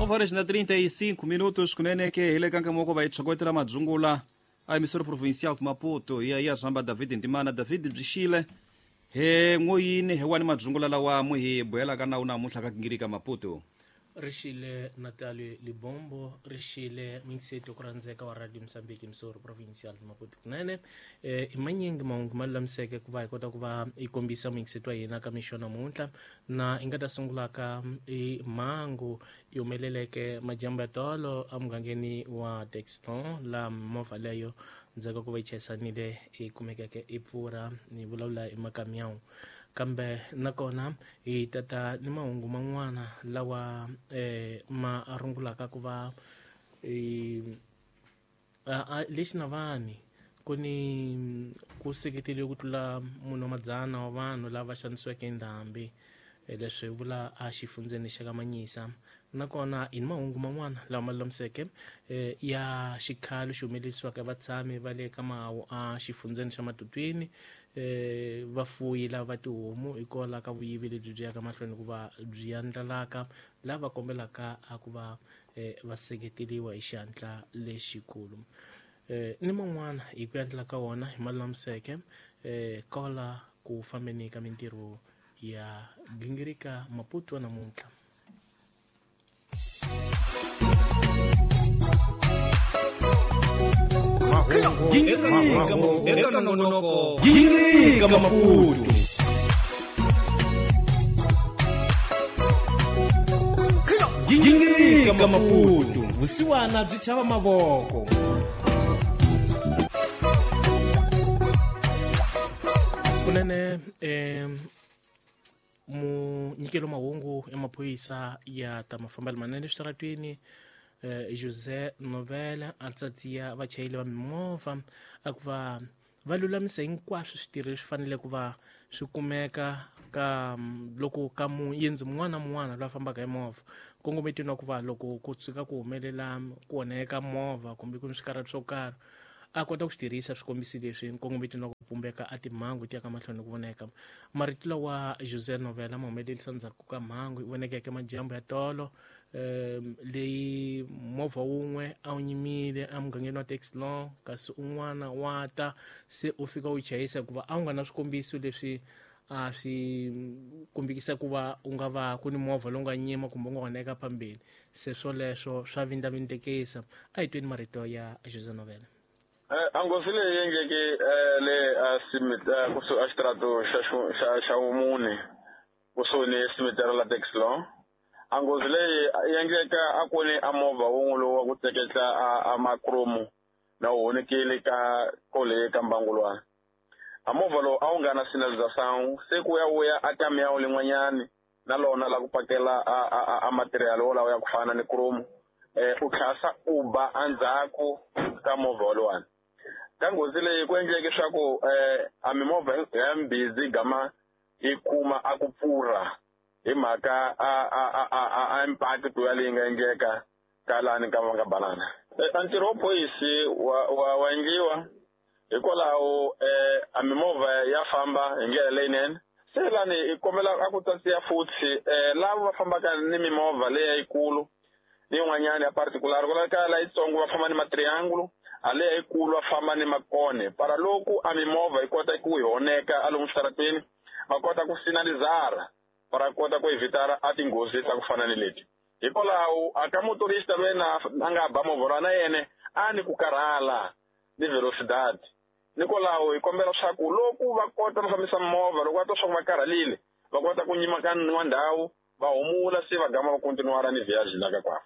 Horas na 35 minutos kunene ke hi le ka nkamoko va hi tshokotela madzungula a emissora provincial de Maputo ya ya zamba David Ntimana. David byi he n'woyini he wani madzungula lawa mu hi bohelaka nawu namuntlha ka gingirika Maputo. Rixile Natalie Libombo, rixile mingiseti ku rhandzeka wa Radio Mozambique Missouri Provincial Maputo kunene. I manyingi mahungu ma lulamiseke ku va hi kota ku va hi kombisa muyingiseti wa hina ka mixo namuntlha, na hi nga ta sungulaka i mhangu yi humeleleke madyambu ya tolo emugangeni wa Dexlon, laha movha leyo ndzhaku ka ku va yi chayisanile yi kumekeke yi pfurha, ni vulavula hi makamiyawu. Kambe nakona hi tata ni mahungu man'wana lawa ma rungulaka ku va lexi na vanhu ku ni ku seketeriwe ku tlula munhu wa madzana wa vanhu lava xanisiweke hi ndhambi, leswi vula a xifundzeni xa ka Manyisa. Nakona hi ni mahungu man'wana lawa ma lulamiseke ya xikhalo xi humelerisiwaka vatshami va le ka mahawu a xifundzeni xa Matutwini, vafuyi lava va tihomu hikwalaho ka vuyivi lebyi byi yaka mahlweni ku va byi andlalaka, lava kombelaka a ku va va seketeriwa hi xihatla lexikulu. Ni man'wana hi ku endla ka wona hi ma lulamiseke kola ku fambeni ka mintirho ya gingirika Maputo namuntlha. Gingirika nongonoko, Gingirika Maputo. Gingirika Maputo, vusiwana byi chava mavoko. Kunene munyikelo mahungu ya maphorisa ya ta mafambelo manene eswitaratweni, José Novela a tsatsiya vachayeri va mimovha a ku va va lulamisa hinkwaswo switirho leswi fanele ku va swi kumeka ka loko ka muyendzi mun'wana na mun'wana loyi a fambaka hi movha, nkongometweni wa ku va loko ku tshuka ku humelela ku onheka movha kumbe ku ni swikarhato swo karhi a kota ku swi tirhisa swikombiso leswi nkongometweni wa ku pumbeka a timhangu ti ya ka mahlweni ku voneka. Marito lawa José Novela ma humelerisa ndzhaku ka mhangu yi vonekeke madyambu ya tolo, leyi movha wun'we a wu nyimile emugangeni wa Texlon, kasi un'wana wa ta se u fika u chayisa hikuva a wu nga na swikombiso leswi a swi kombekisa ku va u nga va ku ni movha lowu nga nyima kumbe u nga onheka phambeni. Se swoleswo swa vindlavindlekisa. A hi tweni marito ya José Novela. A nghozi leyi endleke le a kusuhi a xitirato xa vumune kusuhi ni cemetery la Texlon. A nghozi leyi yi endleka a ku ni a movha wun'we lowu wa ku tleketla a makrumu na wu honekile ka kole ka mbangulwana. A movha lowu a wu nga na sinalização, se ku ya vuya a kamiyawu lin'wanyani na lona la ku pakela a material wolawo ya ku fana ni krumu, u tlhasa u ba endzhaku ka movha woluwani. Ka nghozi leyi ku endleke swa ku a mimovha ya mbhizi gama yi kuma a ku pfurha hi mhaka a impact ya leyi nga endleka ka lani ka va nga banana. A ntirho wa phoyisi wa endliwa hikwalaho a mimovha ya famba hi ndlela leyinene. Se lani hi kombela a ku tsatsiya futhi lava va fambaka ni mimovha leya yikulu ni yin'wanyana ya particular, ku laveka la yitsongo va famba ni matriangulo, a leya yikulu va famba ni makone. Para loko a mimovha yi kota ku hi honeka a lomu switarateni, va kota ku sinalizara para kota ku evitara a tinghozi ta ku fana ni leti. Hikwalaho a ka motorista loyi a nga ba movha loyi na yena a ni ku karhala ni velocidade. Hikwalaho hi kombela swa ku loko va kota va fambisa movha, loko va twa swa ku va karhalile, va kota ku nyima ka n'wa ndhawu, va humula se va gama va continuara ni viagem la ka kwavo.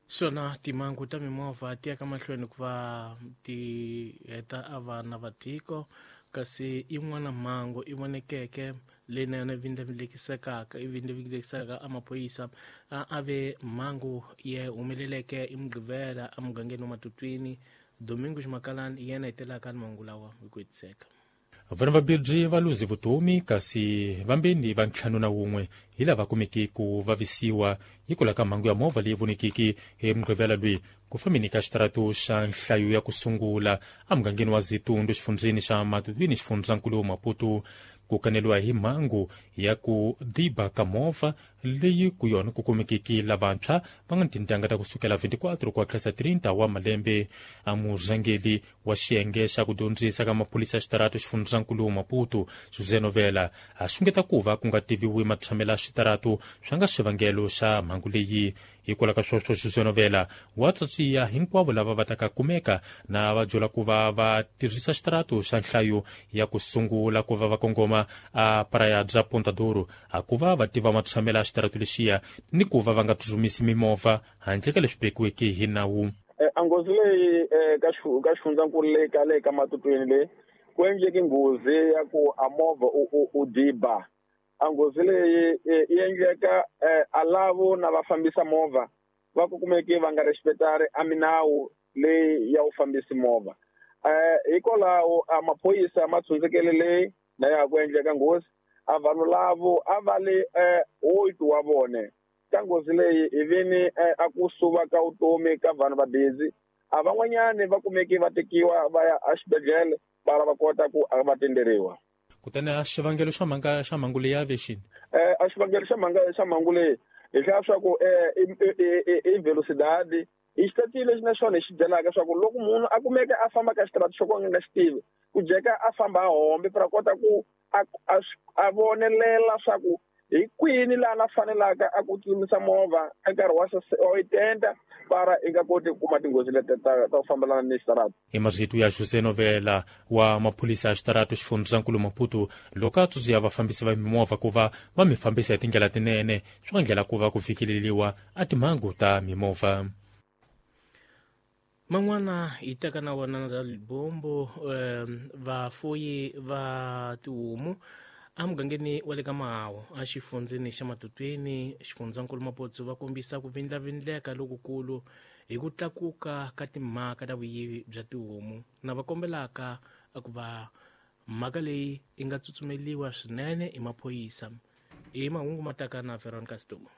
Swona timhangu ta mimovha ti ya ka mahlweni ku va ti heta a vana va tiko, kasi yin'wana mhangu i vonekeke leyi na yona vindlavindlekisekaka, i vindlavindlekisaka a maphorisa a ve mhangu ya humeleleke i Mugqivela emugangeni wa Matutwini. Domingos Makalani yena hetelaka ni mahungu lawa hi ku hetiseka. Vanhu vambirhi va luze vutomi kasi vambeni va 51 hi lava kumeke ku vavisiwa hikwalaho ka mhangu ya movha leyi vonekeke hi Mugqivela loyi. ku fambeni ka xitaratu xa nhlayo ya ku sungula emugangeni wa Zitundu xifundzeni xa Matutuini xifundzankulu Maputo. Ku kaneliwa hi mhangu ya ku diba ka movha leyi ku yona ku kumekeke lavantshwa va nga ni tintangha ta kusukela 24 ku tlhela 30 wa malembe. A murhangeri wa xiyenge xa ku dyondzisa ka maphorisa xitaratu xifundzankulu Maputo José Novela a xungeta ku va ku nga tiviwi matshamelo ya xitaratu swa nga xivangelo xa mhangu leyi. Hikwalaho ka sweswo José Novela wa tsatsiya hinkwavo lava va taka kumeka na va jola ku va va tirhisa xitaratu xa nhlayo ya ku sungula ku va va kongoma a Praia bya Ponta Douro a ku va va tiva matshamelo ya xitaratu lexiya ni ku va va nga tsutsumisi mimovha handle ka leswi vekiweke hi nawu. A nghozi leyi ka xifundzankulu leyi ka le ka Matutuini leyi ku endleke nghozi ya ku a movha u diba. A nghozi leyi yi endleka a lavo na va fambisa movha va ku kumeke va nga respectari a minawu leyi ya u fambisi movha. Hikwalaho a maphorisa ma tshundzekele leyi na ya ku endleka nghozi a vanhu lavo a va le 8 wa vone. Ka nghozi leyi hi vini a ku suva ka vutomi ka vanhu va busy a van'wanyani va kumeke va tekiwa va ya exibedhlele va va kota ku va tenderiwa. Kutani a xivangelo xa mhanga xa mhangu leyi a vexini? A xivangelo xa mhanga xa mhangu leyi hi hlaya swa ku i velocidade i xitatile lexi na xona hi xi byelaka swa ku loko munhu a kumeka a famba ka xitaratu xo ka nga xi tivi ku jeka a famba a hombe para kota ku a vonelela swa ku hi kwini laha na fanelaka a ku tsutsumisa movha ka nkarhi wa 80 para i nga koti ku kuma tinghozi leti ta ku fambelana ni xitaratu. I marito ya José Novela wa maphorisa ya xitaratu xifundzankulu Maputo loko a tsundzuxa vafambisi va mimovha ku va va mi fambisa hi tindlela tinene swi nga ndlela ku va ku fikeleriwa a timhangu ta mimovha. Man'wana hi teka na wona ra Libombo vafuyi va tihomu emugangeni wa le ka Mahawu exifundzeni xa Matutuini xifundzankulu Maputo va kombisa ku vindlavindleka lokukulu hi ku tlakuka ka timhaka ta vuyivi bya tihomu na va kombelaka ku va mhaka leyi yi nga tsutsumeliwa swinene hi maphorisa. I mahungu ma taka na Veronica Stumo.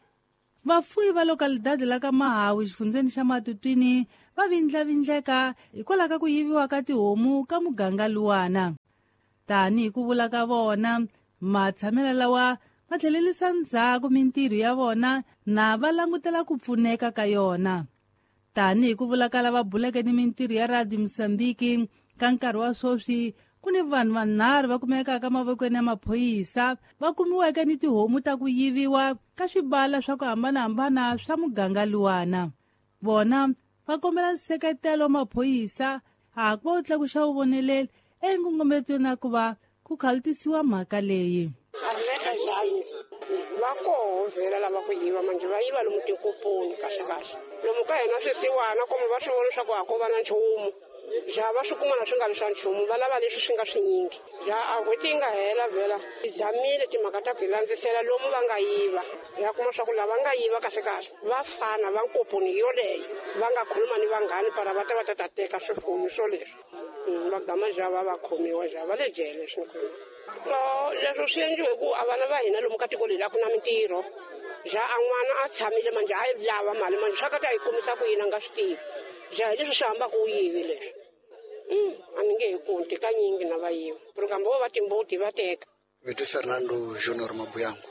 Vafuyi va localidade la ka Mahawu xifundzeni xa Matutuini va vindlavindleka hikwalaho ka ku yiviwa ka tihomu ka muganga luwana. Tanihi ku vula ka vona matshamelo lawa ma tlhelerisa ndzhaku mintirho ya vona na va langutela ku pfuneka ka yona. Tanihi ku vula ka lava buleke ni mintirho ya Radio Mozambique ka nkarhi wa sweswi ku ni vanhu vanharhu va kumekaka mavokweni ya maphorisa va kumiweke ni tihomu ta ku yiviwa ka swibala swa ku hambanahambana swa muganga luwana. Vona va kombela nseketelo wa maphorisa a ku va wu tlakuxa vuvoneleli enkongometweni na ku va ku khalutisiwa mhaka leyi. Va koho vhela lava ku yiva manje va yiva lomu tinkoponi kahle kahle lomu ka hina swisiwana komo va swi vona leswaku a ko va na nchumu ja va swi kuma na swi nga ri swa nchumu va lava leswi swi nga swinyingi ja a n'hweti yi nga hela vhela hi zamile timhaka ta ku hi landzisela lomu va nga yiva ya kuma swa ku lava nga yiva kahle kahle va fana va nkoponi yoleyo va nga khuluma ni vanghani para va ta va ta ta teka swifuyo swo leswi va gama ja va va khomiwa ja va le jele swi leswo swi endliwe ku a vana va hina lomu ka tiko leri a ku na mintirho ja a n'wana a tshamile manje a yi lava mali manje swa ka ta yi kumisa ku yini a nga swi tivi ja hi leswi swi hambaka u yivi leswi a ni nge hi kunti kanyingi na va yiva kambe vo va timbuti va teka. Vito Fernando Junior Mabuyangu.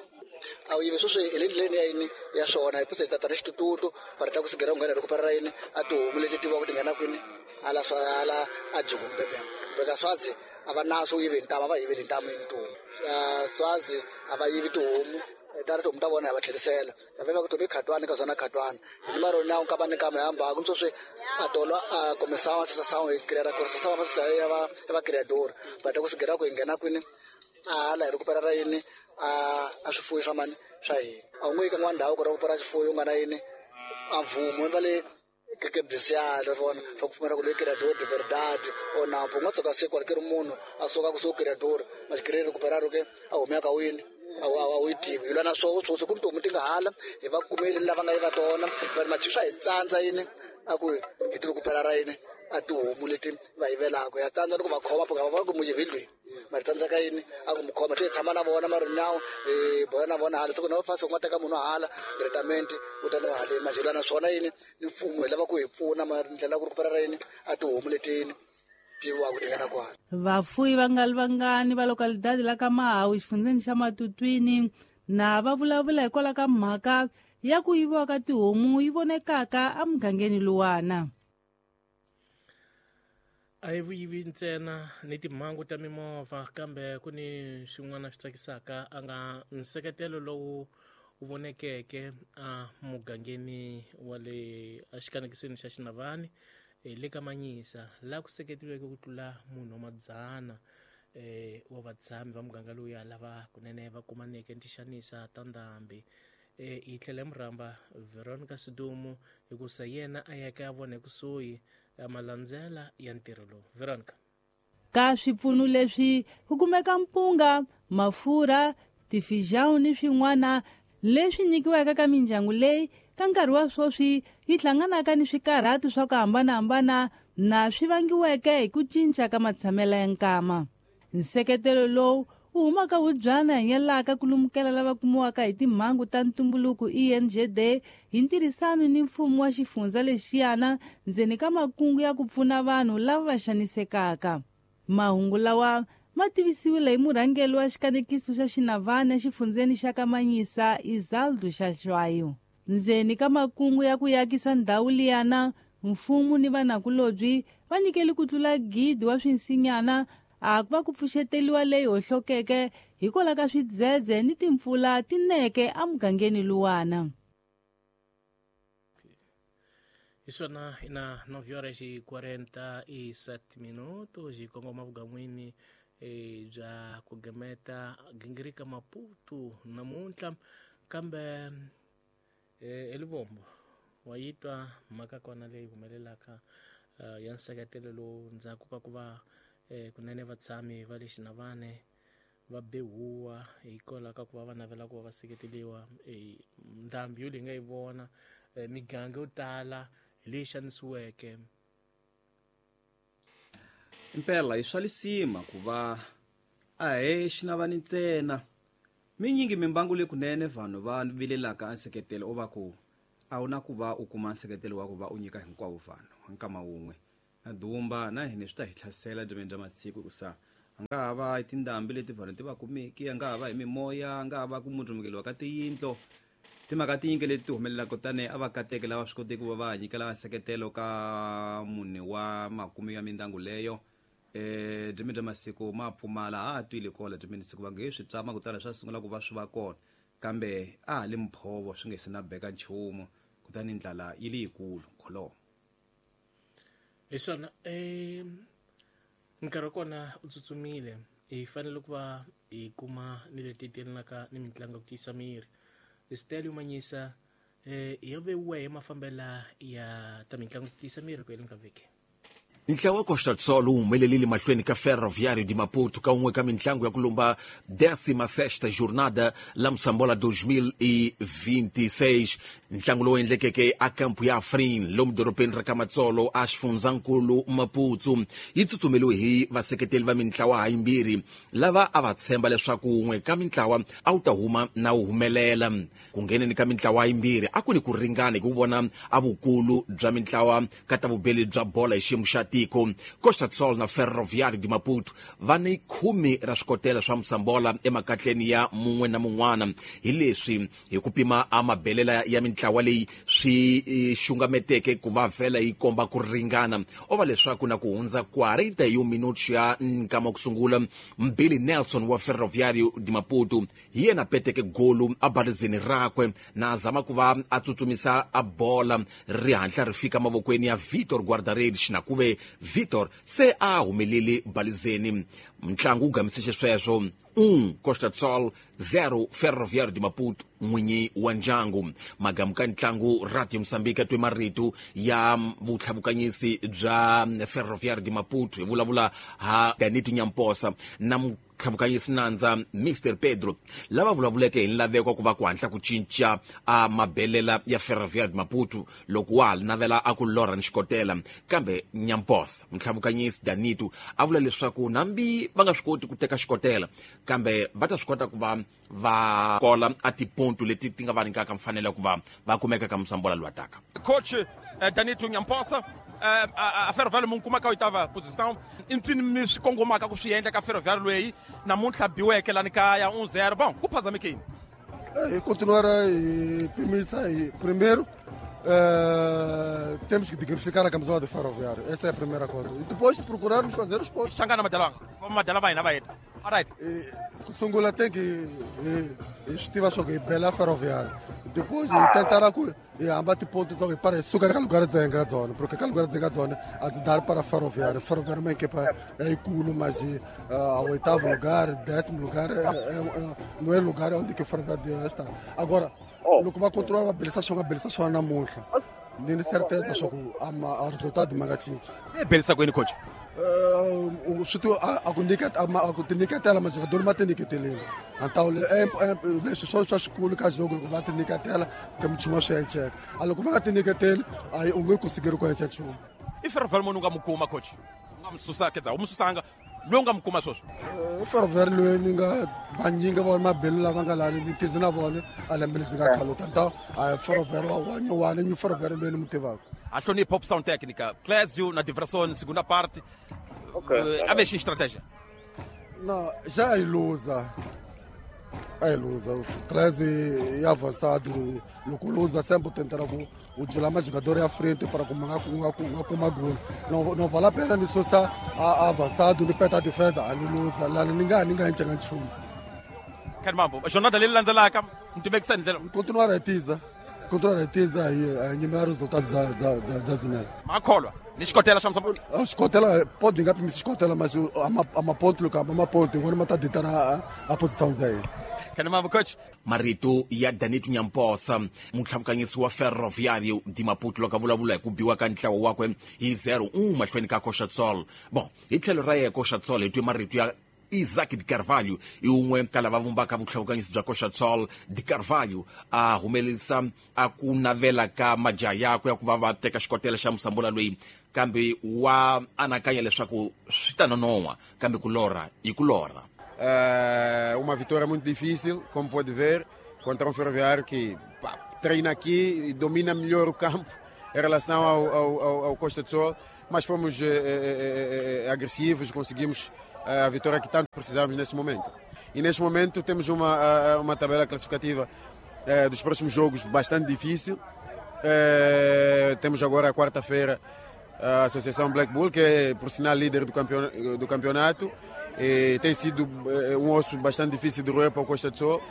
A wu yivi sweswi hi le ndleleni ya yini ya swona hi puse hi tata na xitututu va ri ta ku sigera ku nghena loko parara yini a tihomu leti tiviwaka ti nghena kwini ala swa ala a jihumi bebe beka swazi a va naso yivi ntamu a va yiveli ntamu yini tihomu swazi a va yivi tihomu ta ri tihomu ta vona hi va tlherisela va va ku tomi khatwani ka zona khatwani hi maro na ka va ni kama hamba ku sweswi a tolo a começava a associação e criar a associação ya va ya va criador va ta ku sigera ku hi nghena kwini a hala hi recuperar yini a swifuwo swa mani swa hina a wu nge yi ka n'wana ndhawu ku recupera xifuwo u nga na yini a mvumo va le credencial vona swa ku pfumela ku loyi criador de verdade o nampo u nga tshuka siku ri munhu a suka ku suka criador ma xi recuperar ke a humeka ka wini a wu yi tivi hi lwa na swoho swoswi ku ni tihomu ti nga hala hi va kumile lava nga yiva tona va ri machi swa hi tsandza yini a ku hi ti recuperar yini a tihomu leti va yivelaka ya tsandza loko va khoma va va ku mu yivile mara tsandzaka yini a ku mu khoma ti tshama na vona mara nawu bola na vona hala siku na fasi ku nga teka munhu hala testament u ta na hale majelana swona yini ni mfumo hi lava ku hi pfuna mara ndlela ku rhukupera yini a tihomu leti tiwa ku tingana kwala. Vafuyi va nga vangani va localidade la ka Mahawu xifundzeni xa Matutwini na va vulavula hikwalaho ka mhaka ya ku yiviwa ka tihomu yi vonekaka emugangeni luwana. A hi vuyivi ntsena ni timhangu ta mimovha kambe ku ni swin'wana swi tsakisaka a nga nseketelo lowu wu vonekeke a mugangeni wa le exikanekisweni xa Xinavani le ka Manyisa laha ku seketiweke ku tlula munhu wa madzana wa vatshami va muganga lowuya lava kunene va kumaneke ni tixanisa ta ndhambi. Hi tlhela hi murhamba Veronica Sidumo hikusa yena a yaka ya vona ekusuhi ya malandzela ya ntirho lowu. Veronica. Ka swipfuno leswi ku kumeka mpunga, mafurha, tifijão ni swin'wana leswi nyikiwaka ka mindyangu leyi ka nkarhi wa sweswi yi hlanganaka ni swikarhati swa ku hambanahambana na swi vangiweke hi ku cinca ka matshamelo ya nkama. Nseketelo lowu wu humaka wubyana hinyelaka ku lumukela lava kumiwaka hi timhangu ta ntumbuluko ENGD hi ntirhisano ni mfumo wa xifundza lexiyana ndzeni ka makungu ya ku pfuna vanhu lava va xanisekaka. Mahungu lawa ma tivisiwile hi murhangeri wa xikanekiso xa Xinavani exifundzeni xa Kamanyisa Izaldo Xaxwayo. Ndzeni ka makungu ya ku yakisa ndhawu liyana, mfumo ni vanakulobyi va nyikele ku tlula 1,000 wa swinsinyana a ku va ku pfuxeteliwa leyi hohlokeke hikwalaho ka swidzedze ni timpfula tineke emugangeni luwana. Hi swona ina 9:47 hi kongoma vugan'wini bya ku gemeta gingirika Maputo namuntlha kambe eLivombo wa yi twa mhaka kona leyi humelelaka ya nseketelo lowu ndzhaku ka ku va kunene vatshami va le Xinavane va behuwa hikwalaho ka ku va va navela ku va va seketeliwa ndhambi yo leyi nga yi vona miganga yo tala hi leyi xanisiweke. Impela i swa lisima ku va a he Xinavani ntsena minyingi mimbangu leyi kunene vanhu va vilelaka nseketelo o va ku a wu na ku va u kuma nseketelo wa ku va u nyika hinkwavo vanhu nkama wun'we na dumba na hina swi ta hi hlasela dyameni bya masiku hikusa a nga ha va hi tindhambi leti vanhu ti va kumeki, a nga ha va hi mimoya, a nga ha va ku mundlumukeliwa ka tiyindlo timhaka tinyingi leti ti humelelaka kutani a va kateke lava swi koteki ku va va nyikela nseketelo ka mune wa makume ya mindyangu leyo. Dyameni bya masiku ma pfumala ha twile kola dyameni siku va nge swi tsama kutani swa sungula ku va swi va kona kambe a ha le mphovo swi nge se na beka nchumu kutani ndlala yi le yikulu kholomo. Hi swona nkarhi wa kona u tsutsumile hi fanele ku va hi kuma ni leti telanaka ni mitlangu ya ku tiyisa miri. Stella Manyisa ya vewiwa hi mafambela ya ta mitlangu ku tiyisa miri ku heleni ka vhiki. Ntlawa wa Costa do Sol wu humelelile mahlweni ka Ferroviário de Maputo ka un'we ka mitlangu ya ku lumba 16ª jornada la Moçambola 2026. Ntlangu lowu endlekeke a kampu ya Afrin lomu dorobeni ra Kamatsolo a xifundzankulu Maputo yi tsutsumeliwe hi vaseketeli va mintlawa hayimbirhi lava a va tshemba leswaku wun'we ka mintlawa a wu ta huma na wu humelela. Ku ngheneni ka mintlawa yimbirhi a ku ni ku ringana hi ku vona a vukulu bya mintlawa ka ta vubeli bya bola hi xiyimo xa tiko. Costa do Sol na Ferroviário de Maputo va ni 10 ra swikotela swa Moçambola emakatleni ya mun'we na mun'wana hi leswi hi ku pima a mabelela ya mintlawa leyi swi xungameteke ku va vhela yi komba ku ringana o va leswaku na ku hundza 41 minutos ya nkama ku sungula Mbili Nelson wa Ferroviário de Maputo hi yena peteke golu a balizeni rakwe na zama ku va a tsutsumisa a bola ri hatla ri fika mavokweni ya Vitor Guarda-redes na kuve Vitor se a humelele balizeni. Mntlangu wu gamise xisweswo 1 Costa do Sol 0 Ferroviário de Maputo n'winyi wa ndyangu. Magamu ka ntlangu Radio Mozambique twe marito ya vutlhavukanyisi bya Ferroviário de Maputo hi vulavula ha Danito Nyamposa na Tlhavukanyisi nandza Mr Pedro lava vulavuleke hi nlaveko ku va ku hatla ku cinca a mabelela ya Ferroviário de Maputo loko wa ha navela a ku lorha ni xikotela. Kambe Nyamposa mutlhavukanyisi Danito a vula leswaku nambi va nga swi koti ku teka xikotela, kambe va ta swi kota ku va va kola a tiponto leti ti nga va nyikaka mfanelo ya ku va va kumeka ka musambola lowu taka. Coach Danito Nyamposa, a Ferroviário mu kuma ka oitava posição, i mpsini mi swi kongomaka ku swi endla ka Ferroviário loyi namuntlha biweke lani kaya 1-0? Bom, ku phazamekeni. E continuar a pimisa. Primeiro, temos que dignificar a camisola de Ferroviário. Essa é a primeira coisa. E depois procurarmos fazer os pontos. Xangana madalanga madala va hina va heta. Alright. Ku sungula tem que hi swi tiva swa ku hi bela Ferroviário. Depois hi tentar ku hi hamba tiponto ta ku hi para hi suka ka lugar dzenga dzona, porque ka lugar dzenga dzona a dzi dar para Ferroviário. Ferroviário é uma equipa yikulu, mas a oitavo lugar, 10º lugar, não é lugar onde que o Ferroviário deve estar. Agora, loko va continuar va belisa swona, belisa swona namuntlha, ni ni certeza swa ku a resultado ma nga cinci. E belisa kwini, coach? Swi ti a ku nyiketa a ku tinyiketela, majogadori ma tinyiketelile antawule leswi swona swa swikulu ka jogo. Loko va tinyiketela ka minchumu swi enceka, a loko va nga tinyiketeli a u nge kusikeri ku enca nchumu. I Ferroviário muni u nga mu kuma, coach? U nga mu susa kedza u mu susanga loyi u nga mu kuma sweswi? Ferroviário loyi ni nga vanyingi va mabelu lava nga lani ni tizi na vona a lembe ledzi nga khaluta nta a Ferroviário wa nyuwani ni Ferroviário loyi ni mu tivaka. A hlonipha opção técnica Clésio na Diversão segunda parte. Okay. A ver estratégia. Não, já é ilusa. É ilusa. O Clésio é avançado, loko luza sempre tentará ku u jula majogador ya frente para kuma gol. Não, não vale a pena ni susa avançado ni peta defesa a ni luza lani ni nga encenga nchumu. Mambo jornada leyi landzelaka mi tivekisa hi ndlela. Continuar a tiza, continuar a tiza hi nyimela resultados dza dzinene. Makholwa ni xikotela xa musamba. Xikotela pode nga pimisi xikotela, mas a maponto loko hamba maponto yin'wana ma ta ditana a posição dza hina. Kani mambo, coach. Marito ya Danito Nyamposa, mutlhavukanyisi wa Ferroviário de Maputo, loko a vulavula hi ku biwa ka ntlawa wakwe hi 0-1 mahlweni ka Coxa Sol. Bon, hi tlhelo ra yena Coxa Sol, hi twe marito ya Isaac de Carvalho, i un'we ka lava vumbaka vutlhavukanyisi bya Coxa Sol. De Carvalho a humelerisa a ku navela ka majaha yakwe ya ku va va teka xikotela xa musambula loyi, kambe wa anakanya leswaku swi ta nonoha, kambe ku lorha i ku lorha. Uma vitória muito difícil, como pode ver, contra um Ferroviário que, pá, treina aqui e domina melhor o campo em relação ao Costa do Sol, mas fomos agressivos, conseguimos a vitória que tanto precisávamos nesse momento. E neste momento temos uma tabela classificativa dos próximos jogos bastante difícil. Temos agora a quarta-feira a Associação Black Bull, que é, por sinal, líder do campeonato. E tem sido um osso bastante difícil de roer para o Costa do Sol,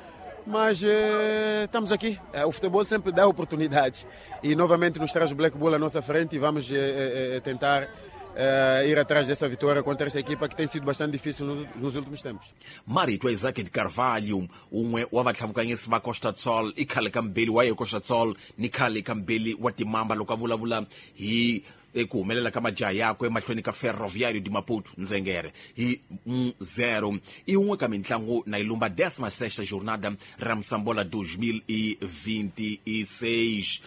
mas estamos aqui. O futebol sempre dá oportunidades e novamente nos traz o Black Bull à nossa frente e vamos tentar ir atrás dessa vitória contra essa equipa que tem sido bastante difícil nos últimos tempos. Marito Isaac de Carvalho, un'we wa vatlhavukanyisi va Costa do Sol, i khale ka mbeli wa ye Costa do Sol ni khale ka mbeli wa timamba, loko a vulavula hi ku humelela ka majaha yakwe emahlweni ka Ferroviário de Maputo ndzengere hi 0 i un'we ka mitlangu na yi lumba 16 jornada ra Musambola 2026.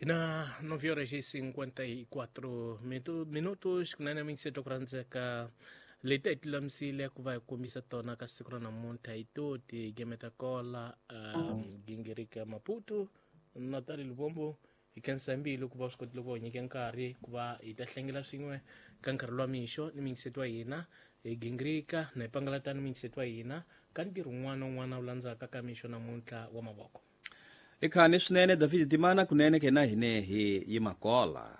Na 9 horas e 54 minutos, kunene minseto ku rhandzeka leti hi ti lulamisile ku va hi kombisa tona ka siku ra namuntlha hi to tigeme ta kola gingirika Maputo Natali Lubombo. Hi khensa mbilu ku va swi kotile ku va nyika nkarhi ku va hi ta hlengela swin'we ka nkarhi lowa mixo ni mingiseto wa hina hi gingirika na hi pangalatani mingiseto wa hina ka ntirho wun'wana na wun'wana wu landzaka ka mixo namuntlha wa mavoko. I khani swinene David Timana, kunene ke na hine hi yimakola.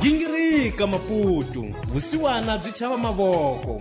Gingirika Maputo, vusiwana byi chava mavoko.